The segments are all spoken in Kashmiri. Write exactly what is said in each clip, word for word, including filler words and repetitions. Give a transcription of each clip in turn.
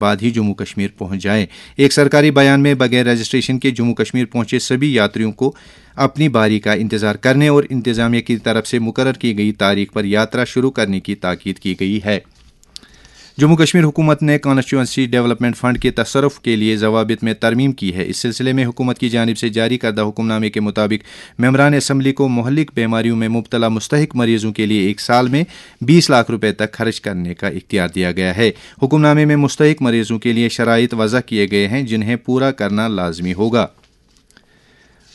بعد ہی جموں کشمیر پہنچ جائیں۔ ایک سرکاری بیان میں بغیر رجسٹریشن کے جموں کشمیر پہنچے سبھی یاتریوں کو اپنی باری کا انتظار کرنے اور انتظامیہ کی طرف سے مقرر کی گئی تاریخ پر یاترا شروع کرنے کی تاکید کی گئی ہے۔ جموں کشمیر حکومت نے کانسٹیچوئنسی ڈیولپمنٹ فنڈ کے تصرف کے لیے ضوابط میں ترمیم کی ہے۔ اس سلسلے میں حکومت کی جانب سے جاری کردہ حکم نامے کے مطابق ممبران اسمبلی کو مہلک بیماریوں میں مبتلا مستحق مریضوں کے لیے ایک سال میں بیس لاکھ روپے تک خرچ کرنے کا اختیار دیا گیا ہے۔ حکم نامے میں مستحق مریضوں کے لیے شرائط وضع کیے گئے ہیں، جنہیں پورا کرنا لازمی ہوگا۔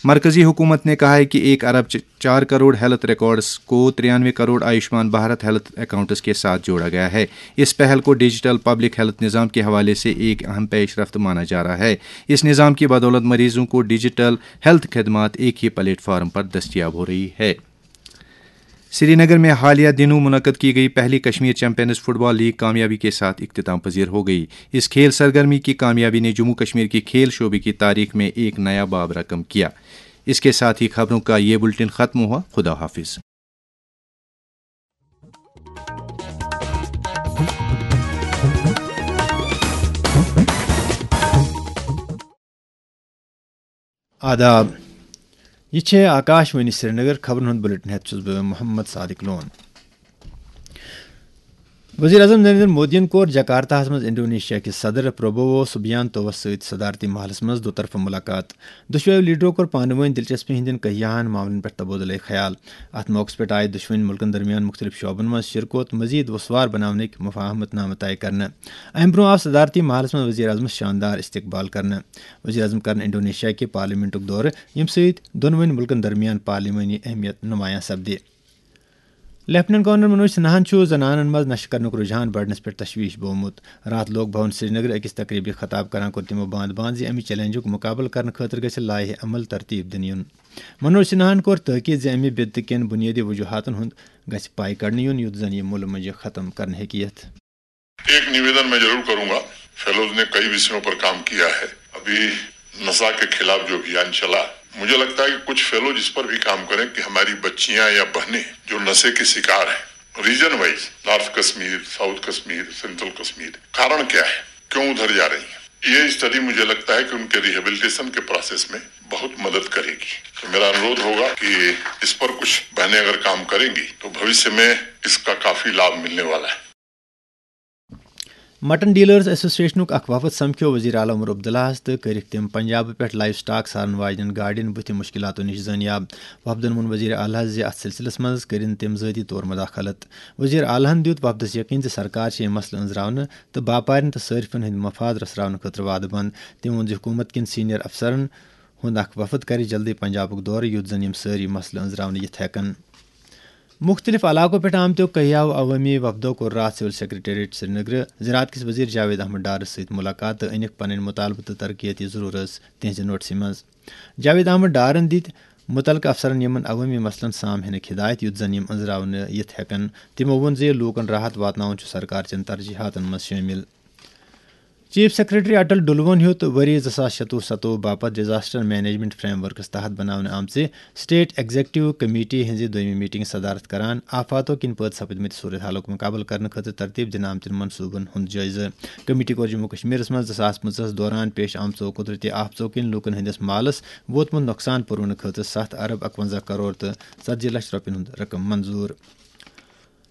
مرکزی حکومت نے کہا ہے کہ ایک ارب چ-، چار کروڑ ہیلتھ ریکارڈز کو ترانوے کروڑ آیوشمان بھارت ہیلتھ اکاؤنٹس کے ساتھ جوڑا گیا ہے۔ اس پہل کو ڈیجیٹل پبلک ہیلتھ نظام کے حوالے سے ایک اہم پیش رفت مانا جا رہا ہے۔ اس نظام کی بدولت مریضوں کو ڈیجیٹل ہیلتھ خدمات ایک ہی پلیٹ فارم پر دستیاب ہو رہی ہے۔ سری نگر میں حالیہ دنوں منعقد کی گئی پہلی کشمیر چیمپئنز فٹ بال لیگ کامیابی کے ساتھ اختتام پذیر ہو گئی۔ اس کھیل سرگرمی کی کامیابی نے جموں کشمیر کی کھیل شعبے کی تاریخ میں ایک نیا باب رقم کیا۔ اس کے ساتھ ہی خبروں کا یہ بلٹن ختم ہوا۔ خدا حافظ۔ آداب۔ یہ چھے آکاش وانی سرینگر۔ خبرن ہند بلیٹن ہیتھ چھس بہ محمد صادق لون۔ وزیر اعظم نریندر مودیَن کوٚر جکارتاہَس منٛز انڈونیشیا کِس صدر پروبوو سبیانتوَس سۭتۍ صدارتی محلَس منٛز دو طرفہٕ ملاقات۔ دۄشوٕیو لیڈرو کوٚر پانہٕ وٲنۍ دلچسپی ہٕنٛدٮ۪ن کہیاہن معاملن پٮ۪ٹھ تبادلہٕ خیال۔ اتھ موقعس پٮ۪ٹھ آیہِ دۄشوٕنۍ مُلکن درمیان مُختٔلِف شعبن منٛز شِرکوت مزید وسوار بناونٕکۍ مفاہمت نامہٕ طے کرنہٕ۔ امہِ برٛونٛہہ آو صدارتی محلس منٛز وزیر اعظمس شاندار استقبال کرنہٕ۔ وزیر اعظم کرن انڈونیشیا کہِ پارلیمنٹُک دورٕ، ییٚمہِ سۭتۍ دۄنوٕنۍ مُلکن درمیان پارلیمانی اہمیت نمایاں سپدِ۔ لیفٹیننٹ گورنر منوج سنہاہن چھُ زنانن منٛز نشہٕ کرنُک رجحان بڑنس پٮ۪ٹھ تشویش بوومُت۔ راتھ لوک بھون سرینگر أکِس تقریبہِ خطاب کران کوٚر تِمو باند باند زِ امہِ چیلنجُک مقابلہٕ کرنہٕ خٲطرٕ گژھِ لایحہ عمل ترتیب دِنہٕ یُن۔ منوج سنہاہن کوٚر تحقیق زِ امہِ بدعتہٕ کٮ۪ن بُنیٲدی وجوہاتن ہُنٛد گژھِ پاے کڑنہٕ یُن، یُتھ زن یہِ مُلہٕ مۄنجہِ ختم کرنہٕ ہیٚکہِ یِتھ۔ ایک निवेदन मैं जरूर करूंगा। फेलोज ने कई विषयों पर काम किया है। अभी नशा के खिलाफ जो अभियान चला, मुझे लगता है कि कुछ फेलोज इस पर भी काम करें कि हमारी बच्चियां या बहनें जो नशे के शिकार हैं, region wise, north Kashmir, south Kashmir, central Kashmir, कारण क्या है, क्यों उधर जा रही हैं? ये स्टडी, मुझे लगता है कि उनके रिहेबिलिटेशन के प्रोसेस में बहुत मदद करेगी। तो मेरा अनुरोध होगा कि इस पर कुछ बहनें अगर काम करेंगी तो भविष्य में इसका काफी लाभ मिलने वाला है। مٹن ڈیلرز ایسوسیشنُک اکھ وفد سمکھیو وزیر اعلیٰ عمر عبداللہَس تہٕ کٔرِکھ تِم پنجاب پٮ۪ٹھ لائیو سٹاک سارن واجنٮ۪ن گاڑٮ۪ن بُتھِ مشکلاتو نِش زٲنیاب۔ وفدن ووٚن وزیر اعلیٰ زِ اتھ سلسلس منٛز کٔرِن تِم ذٲتی طور مداخلت۔ وزیر اعلیٰ ہَن دیُت وفدس یقین زِ سرکار چھِ یہِ مسلہٕ أنٛزراونہٕ تہٕ باپارٮ۪ن تہٕ صٲرفن ہٕنٛدۍ مفاد رژھراونہٕ خٲطرٕ وعدٕ بنٛد۔ تٔمۍ ووٚن زِ حکوٗمت کٮ۪ن سینئر افسرن ہُنٛد اکھ وفد کرِ جلدی پنجابُک دورٕ، یُتھ زن یِم سٲری مسلہٕ أنٛزراونہٕ یِتھ ہٮ۪کن۔ مُختٔلِف علاقو پٮ۪ٹھ آمتیو کہیاہو عوٲمی وفدو کوٚر راتھ سول سیکرٹریٹ سرینگرٕ زراعت کِس وزیر جاوید احمد ڈارس سۭتۍ مُلاقات تہٕ أنِکھ پنٕنۍ مُطالبہٕ تہٕ ترقیتی ضروٗرت تِہنٛزِ نوٹسہِ منٛز۔ جاوید احمد ڈارن دِتۍ مُتعلقہٕ افسرن یِمن عوٲمی مسلن سام ہینٕکۍ ہدایت، یُتھ زن یِم أنٛزراونہٕ یِتھ ہٮ۪کن۔ تِمو ووٚن زِ لوٗکن راحت واتناوُن چھُ سرکار چٮ۪ن ترجیحاتن منٛز شٲمِل۔ چیف سیکرٹری اٹل ڈلوَن ہیوٚت ؤری زٕ ساس شَتوُہ ستوُہ باپتھ ڈیزاسٹر مینجمنٹ فریم ورکس تحت بناونہٕ آمژِ اسٹیٹ ایگزیکٹو کمیٹی ہٕنٛزِ دوٚیمہِ میٹنگ صدارت کران۔ آفاتو کِنۍ پٲدٕ سپدمٕتۍ صورتحالُک مُقابلہٕ کرنہٕ خٲطرٕ ترتیب دِنہٕ آمتٮ۪ن منصوٗبن ہُنٛد جٲیزٕ۔ کمیٹی کوٚر جموں کشمیرس منٛز زٕ ساس پٕنٛژٕہَس دوران پیش آمژو قدرتی آفتو کِنۍ لوٗکن ہٕنٛدِس مالس ووتمُت نۄقصان پوٗرونہٕ خٲطرٕ ستھ ارب اکونزہ کرور تہٕ ژتجی لچھ رۄپین ہُنٛد رقم منظوٗر۔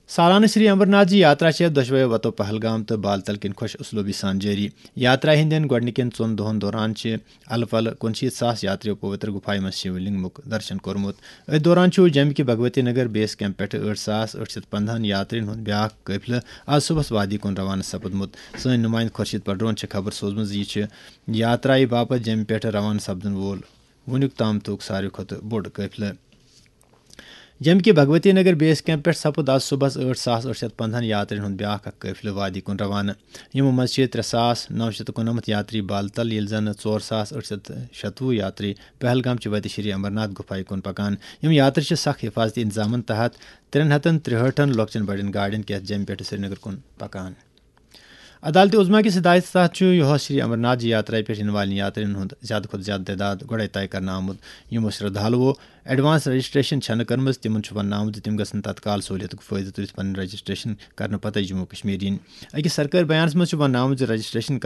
سالانہٕ شری امرناتھ جی یاترا چھےٚ دۄشوے وتو پہلگام تہٕ بالتل کِنۍ خۄش اسلوبی سان جٲری۔ یاترا ہٕنٛدٮ۪ن گۄڈٕنِکٮ۪ن ژۄن دۄہن دوران چھِ الہٕ پلہٕ کُنشیٖتھ ساس یاترِیو پویتر گُفایہِ منٛز شیو لنگ مُک درشن کوٚرمُت۔ أتھۍ دوران چھُ جیٚمہِ کہِ بھگوتی نگر بیس کیمپ پٮ۪ٹھٕ ٲٹھ ساس ٲٹھ شیٚتھ پنٛدہَن یاترِین ہُنٛد بیٛاکھ قٲفلہٕ آز صُبحس وادی کُن روانہٕ سپُدمُت۔ سٲنۍ نُمٲیِندٕ خورشید پڈرون چھےٚ خبر سوزمٕژ زِ یہِ چھُ یاترایہِ باپتھ جیٚمہِ پٮ۪ٹھٕ روانہٕ سپدن وول وُنیُک تام تُک ساروی کھۄتہٕ بوٚڑ قٲفلہٕ۔ جیٚمہِ کہِ بھگوتی نگر بیس کیمپ پٮ۪ٹھ سپُد آز صُبحس ٲٹھ ساس ٲٹھ شیٚتھ پنٛدہَن یاترِین ہُنٛد بیٛاکھ اکھ قٲفلہٕ وادی کُن روانہٕ۔ یِمو منٛز چھِ ترٛےٚ ساس نَو شیٚتھ تہٕ کُننَمَتھ یاتری بالتل، ییٚلہِ زن ژور ساس ٲٹھ شیٚتھ شَتوُہ یاتری پہلگام چہِ وتہِ شری امرناتھ گُفایہِ کُن پکان۔ یِم یاتری چھِ سخ حفاظتی انتظامن تحت ترٛٮ۪ن ہتن ترٛہٲٹھن لۄکچٮ۪ن بڑٮ۪ن گاڑٮ۪ن کیتھ جیٚمہِ پٮ۪ٹھٕ سرینگر کُن پکان۔ عدالت عظمیٰ کِس ہدایتس تحت چھُ یِہوس شری امرناتھ جی یاترایہِ پٮ۪ٹھ یِنہٕ والٮ۪ن یاترین ہُنٛد زیادٕ کھۄتہٕ زیادٕ تعداد گۄڈَے طے کرنہٕ آمُت۔ یِمو شردھالوو ایڈوانس رجسٹریشن چھَنہٕ کٔرمٕژ، تِمَن چھُ وننہٕ آمُت زِ تِم گژھن تتکال سہوٗلیتُک فٲیدٕ تُلِتھ پنٕنۍ رجسٹریشن کرنہٕ پتَے جموں کشمیر یِنۍ۔ أکِس سرکٲرۍ بیانَس منٛز چھُ وننہٕ آمُت زِ رجسٹریشن